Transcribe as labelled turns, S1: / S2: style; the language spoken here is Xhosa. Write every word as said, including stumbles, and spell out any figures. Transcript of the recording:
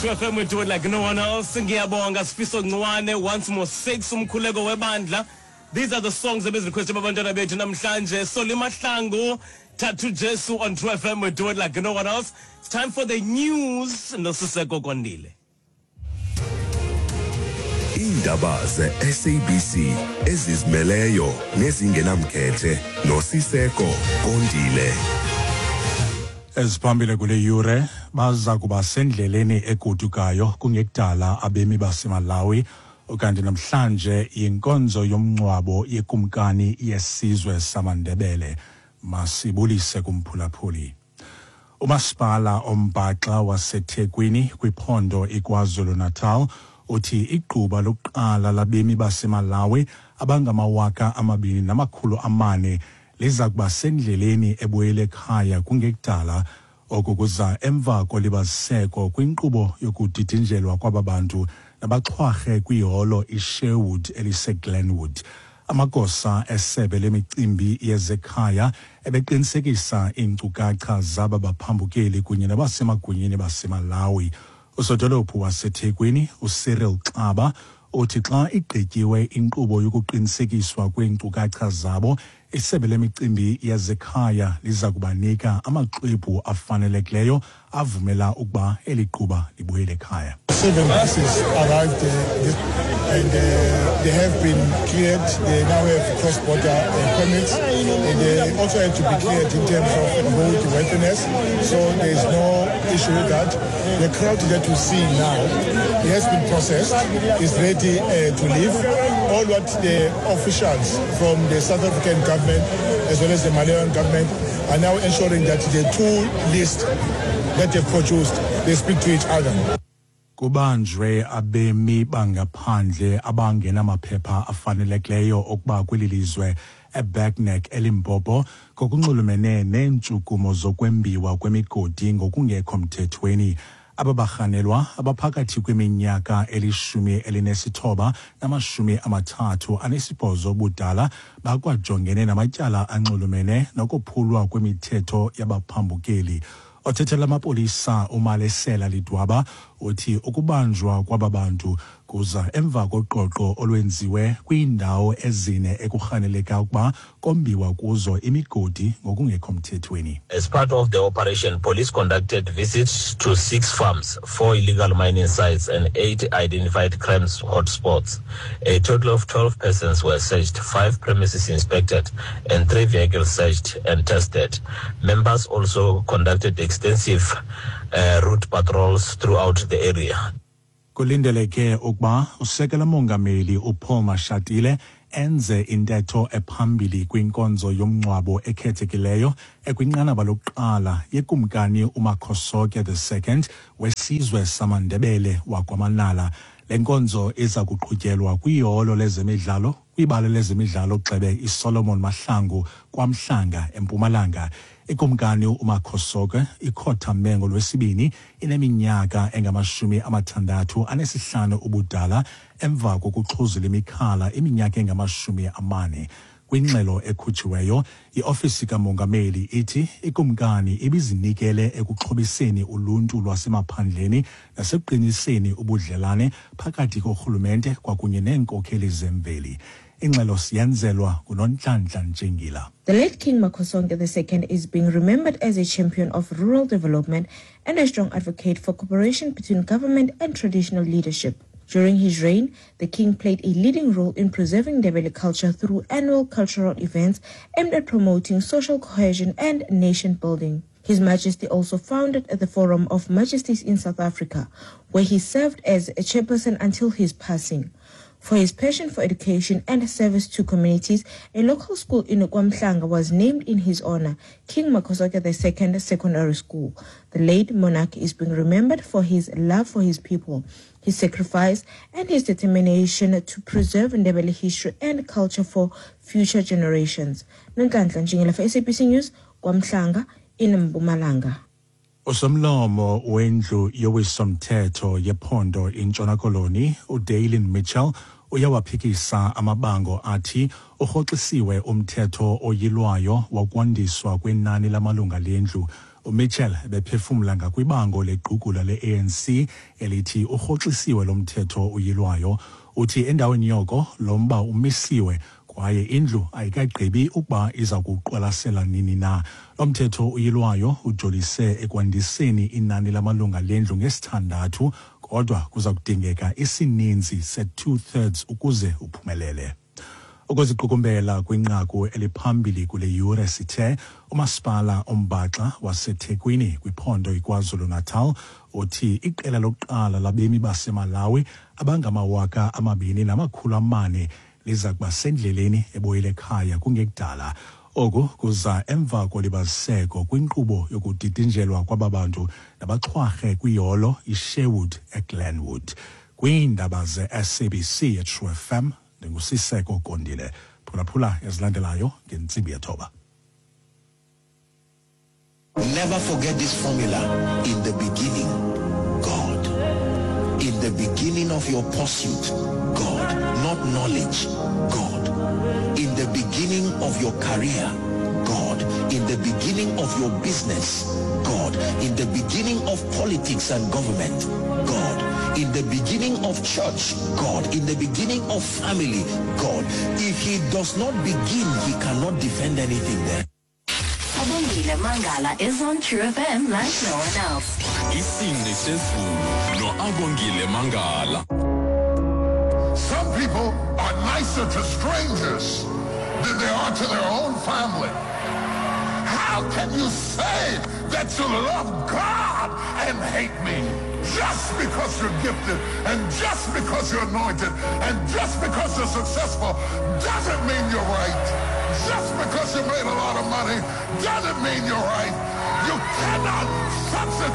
S1: True F M, we do it like no one else. Ngiyabonga Sifiso Ncwane, once more six umkhuleko webandla. These are the songs ebezirequested abantwana bethu namhlanje. Solly Mahlangu, Tattoo Jesu on True F M, we do it like no one else. It's time for the news. Nosiseko Kondile.
S2: Iindaba ze-S A B C ezizimeleyo nezingenamkhethe noSiseko Kondile.
S3: Eziphambili kule yure: baza kuba sendleleni egodukayo kungekudala abemi baseMalawi. Ukanti namhlanje yinkonzo yomngcwabo yekumkani yesizwe samaNdebele. Masibulise kumphulaphuli. Umasipala ombhaxa waseThekwini kwiphondo iKwaZulu-Natal uthi igquba lokuqala labemi baseMalawi abangamawaka amabini namakhulu amane liza kuba sendleleni ebuyele ekhaya kungekudala. Oku kuza emva kolibaziseko kwinkqubo yokudidinjelwa kwaba bantu nabaxhwarhe kwiholo iSherwood eliseGlenwood. Amagosa esebe lemicimbi yezekhaya ebeqinisekisa iinkcukacha zaba baphambukeli kunye nabasemagunyeni baseMalawi. Usodolophu waseThekwini uCyril Xaba uthi xa igqityiwe inkqubo yokuqinisekiswa kweenkcukacha zabo, isebe lemicimbi yezekhaya liza kubanika amaxwebhu afanelekileyo avumela ukuba eli gquba libuyele ekhaya.
S4: Seven buses arrived uh, this, and uh, they have been cleared. They now have cross-border uh, permits, and they also have to be cleared in terms of road worthiness. So there is no issue with that. The crowd that you see now, it has been processed, is ready uh, to leave. All what the officials from the South African government as well as the Malawian government are now ensuring that the two lists that they've produced, they speak to each other.
S3: Kubanjwe abemi bangaphandle abangenamaphepha afanelekileyo okuba kweli lizwe eBergnek eLimpopo ngokunxulumene neentshukumo zokwembiwa kwemigodi ngokungekho mthethweni. Aba barhanelwa abaphakathi kweminyaka elishumi elinesithoba namashumi amathathu anesibhozo ubudala bakwajongene namatyala anxulumene nokophulwa kwemithetho yabaphambukeli. Othethela amapolisa uMalesela Lidwaba uthi ukubanjwa kwaba bantu kuza emva koqoqo olwenziwe kwiindawo ezine ekurhaneleka ukuba kombiwa kuzo imigodi ngokungekho mthethweni.
S5: As part of the operation, police conducted visits to six farms, four illegal mining sites, and eight identified crimes hotspots. A total of twelve persons were searched, five premises inspected, and three vehicles searched and tested. Members also conducted extensive uh, route patrols throughout the area.
S3: Kulindeleke ukuba usekela mongameli uPaul Mashatile enze intetho ephambili kwinkonzo yomngcwabo ekhethekileyo ekwinqanaba lokuqala yekumkani uMakhosoke the Second wesizwe samaNdebele wakwaManala. Le nkonzo iza kuqhutyelwa kwiholo lezemidlalo kwibala lezemidlalo gxebe iSolomon Mahlangu kwaMhlanga eMpumalanga. Ikumkani uMakhosoke ikhothame ngolwesibini ineminyaka engamashumi amathandathu anesihlanu ubudala emva kokuxhuzula imikhala iminyaka engamashumi amane. Kwingxelo ekhutshiweyo, iofisi kamongameli ithi ikumkani ibizinikele ekuxhobiseni uluntu lwasemaphandleni nasekuqiniseni ubudlelane phakathi korhulumente kwakunye neenkokheli zemveli. Ingxelo siyenzelwa nguNonhlanhla Ntshingila.
S6: The late King Makhosonke the Second is being remembered as a champion of rural development and a strong advocate for cooperation between government and traditional leadership. During his reign, the king played a leading role in preserving Ndebele culture through annual cultural events aimed at promoting social cohesion and nation building. His Majesty also founded the Forum of Majesties in South Africa, where he served as a chairperson until his passing. For his passion for education and service to communities, a local school in KwaMhlanga was named in his honor, King Makhosoke the Second Secondary School. The late monarch is being remembered for his love for his people, his sacrifice, and his determination to preserve Ndebele history and culture for future generations. Nonhlanhla Ntshingila for S A B C News, KwaMhlanga in Mpumalanga.
S3: Usomlomo wendlu yowisomthetho yephondo iNtshona Koloni uDaylin Mitchell uyawaphikisa amabango athi urhoxisiwe umthetho oyilwayo wokwandiswa kwenani lamalunga lendlu. UMitchell bephefumla ngakwibango legqugula le-A N C elithi urhoxisiwe lo mthetho uyilwayo. Uthi endaweni yoko lo mba umisiwe kwaye indlu ayikagqibi ukuba iza kuqwalasela nini na. Lo mthetho uyilwayo ujolise ekwandiseni inani lamalunga lendlu ngesithandathu, kodwa kuza kudingeka isininzi se-two thirds ukuze uphumelele. Ukuziqukumbela kwinqaku eliphambili kule yure, sithe umasipala ombaxa waseThekwini kwiphondo iKwaZulu-Natal uthi iqela lokuqala labemi baseMalawi abangamawaka amabini namakhulu amane liza kuba sendleleni ebuyele ekhaya kungekudala. Oku kuza emva kolibaziseko kwinkqubo yokudidinjelwa kwaba bantu nabaxhwarhe kwiholo iSherwood eGlenwood. Kwiindaba ze-S A B C eTrue F M, ndinguSiseko Kondile. Phulaphula ezilandelayo ngentsimbi yethoba.
S7: Never forget this formula. In the beginning, God. In the beginning of your pursuit, God. Not knowledge, God. In the beginning of your career, God. In the beginning of your business, God. In the beginning of politics and government, God. In the beginning of church, God. In the beginning of family, God. If he does not begin, he cannot defend anything there.
S8: Abongile Mangala is on True F M like no one else.
S9: Isingqi sezulu noAbongile Mangala.
S10: Some people are nicer to strangers than they are to their own family. How can you say that you love God and hate me? Just because you're gifted and just because you're anointed and just because you're successful doesn't mean you're right. Just because you made a lot of money doesn't mean you're right. You cannot substitute